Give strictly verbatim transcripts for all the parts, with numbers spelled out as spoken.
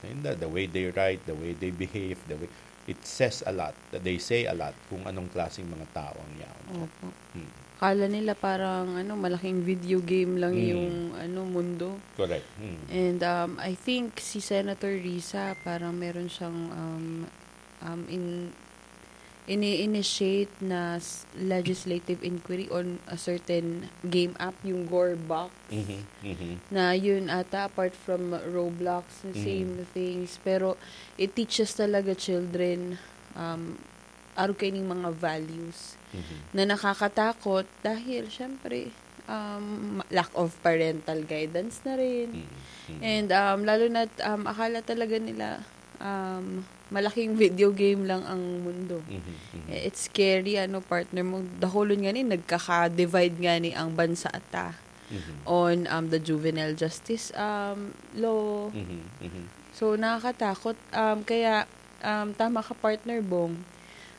Inda, the way they write, the way they behave, the way, it says a lot, they say a lot kung anong klaseng mga tao ang yaon. Opo. Hmm. Kala nila parang ano, malaking video game lang hmm. yung ano mundo. Correct. Hmm. And um, I think si Senator Risa parang meron siyang um, um, in ini-initiate na legislative inquiry on a certain game app, yung Gore Box. Mm-hmm. Mm-hmm. Na yun ata, apart from Roblox, the mm-hmm. same things. Pero it teaches talaga children um, arog kaining mga values mm-hmm. na nakakatakot dahil, syempre, um, lack of parental guidance na rin. Mm-hmm. And um, lalo na um, akala talaga nila um, malaking video game lang ang mundo. Mm-hmm. It's scary, ano, partner mo. Dakulon nga ni, nagkaka-divide nga ni ang bansa ata mm-hmm. on um, the juvenile justice um, law. Mm-hmm. Mm-hmm. So, nakakatakot. Um, kaya, um, tama ka, partner Bong.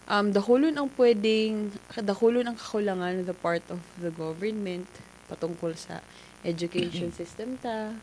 Um, dakulon ang pwedeng, dakulon ang kakulangan on the part of the government patungkol sa education system ta,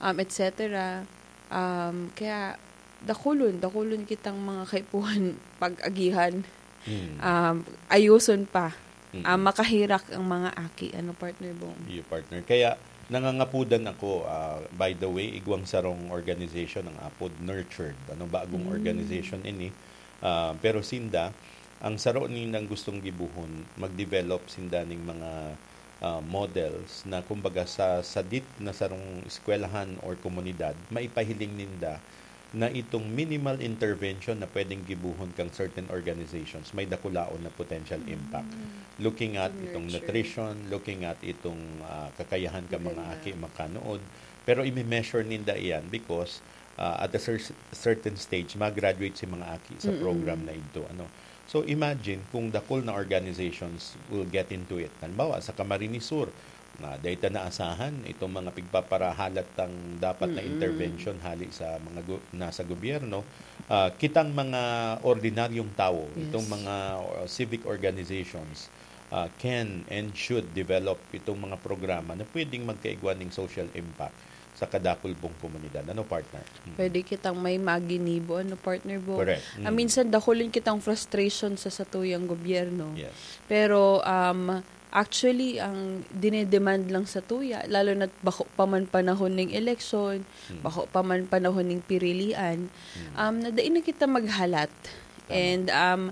um, et cetera. Um, kaya dakulon, dakulon kitang mga kaipuhan pag-agihan. Hmm. Um, ayuson pa. Hmm. Um, makahirak ang mga aki, ano, partner Bong? Iyo, partner. Kaya nangangapudan ako, ah, by the way, igwang sarong organization ang apod Nurtured. Ano, bagong hmm. organization ini. Ah, pero sinda, ang saro nindang gustong gibuhon, mag-develop sinda ning mga ah, models na kumbaga sa sadit na sarong eskwelahan or komunidad, maipahiling ninda na itong minimal intervention na pwedeng gibuhon kang certain organizations, may dakulaon na potential impact. Looking at itong nutrition, looking at itong ah, kakayahan ka mga aki makanood, pero imi-measure ninda iyan because ah, at a cer- certain stage, mag-graduate si mga aki sa program na ito. Ano? So imagine kung dakul na organizations will get into it. Halimbawa, sa Camarines Sur, na data naasahan itong mga pigpaparahalat tang dapat na intervention hali sa mga gu- nasa gobyerno, ah, kitang mga ordinaryong tao, yes. itong mga uh, civic organizations uh, can and should develop itong mga programa na pwedeng magkaigwa ng social impact sa kadakul pong komunidad. Ano, partner? Pwede kitang may maginibo, ano, partner Bong? Correct. Ah, minsan dakulin kitang frustration sa satuyang gobyerno. Yes. Pero um, actually, ang dinedemand lang sa tuya, lalo na't bako pa man panahon ng eleksyon, hmm. bako pa man panahon ng pirilian, hmm. um, na dai na kita maghalat. Tama. And um,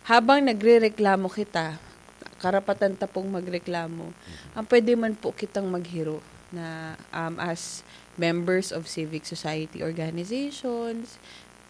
habang nagre-reklamo kita, karapatan ta pong magreklamo, mm-hmm. ang pwede man po kitang maghiro na um, as members of civic society organizations,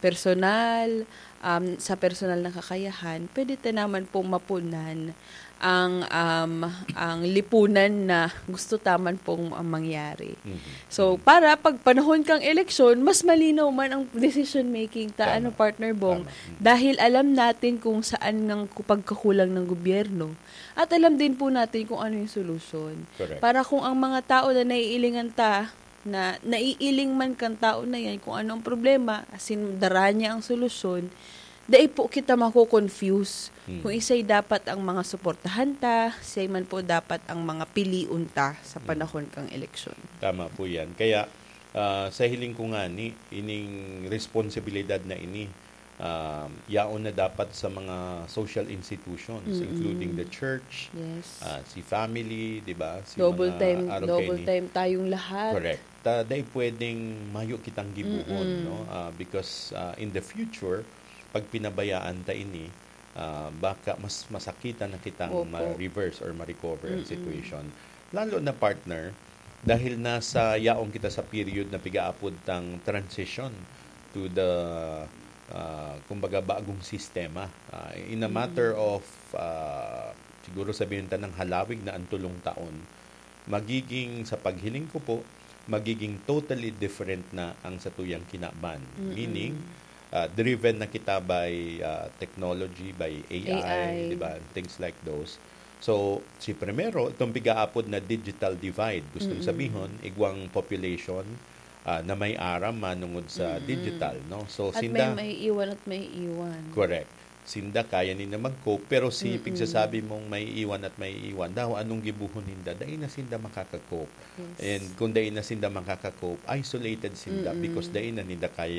personal, um, sa personal na kakayahan, pwede ta naman pong mapunan ang um, ang lipunan na gusto taman pong mangyari. Mm-hmm. So, mm-hmm. para pag panahon kang eleksyon, mas malinaw man ang decision making ta, ano, partner Bong? Tama. Mm-hmm. Dahil alam natin kung saan ang pagkakulang ng gobyerno at alam din po natin kung ano yung solusyon. Correct. Para kung ang mga tao na naiilingan ta, na naiiling man kang tao na yan, kung ano ang problema, asin dara niya ang solusyon, dai po kita mako-confuse hmm. kung isay dapat ang mga suportahan ta, isay man po dapat ang mga pilion ta sa hmm. panahon kang eleksyon. Tama po yan. Kaya uh, sa hiling ko nga ni, ining responsibilidad na ini, uh, yaon na dapat sa mga social institutions, mm-hmm. including the church, yes. uh, si family, di ba? Si double mga time, double time tayong lahat. Correct. Ta, dai pwedeng mayo kitang gibuhon, mm-hmm. no? Uh, because uh, in the future, pag pinabayaan ta ini, uh, baka mas masakitan na kitang Opo. ma-reverse or ma-recover mm-hmm. ang situation. Lalo na, partner, dahil nasa yaon kita sa period na pigaapod tang transition to the uh, kumbaga bagong sistema. Uh, in a matter mm-hmm. of uh, siguro sabihin ta ng halawig na ang tulong taon, magiging sa paghiling ko po, magiging totally different na ang satuyang kinaban. Mm-hmm. Meaning, uh, driven na kita by uh, technology, by A I, A I. Di ba? Things like those. So, si primero, itong pigaapod na digital divide. Gustong mm-hmm. sabihon, igwang population uh, na may aram manungod sa mm-hmm. digital, no? So, at sinda, may, may iwan at may iwan. Correct. Sinda kaya nila mag-cope, pero si mm-hmm. pigsasabi mong may iwan at may iwan, daw anong gibuhon ninda, dai na sinda makaka-cope. Yes. And kung dai na sinda makaka-cope, isolated sinda mm-hmm. because dai na ninda kaya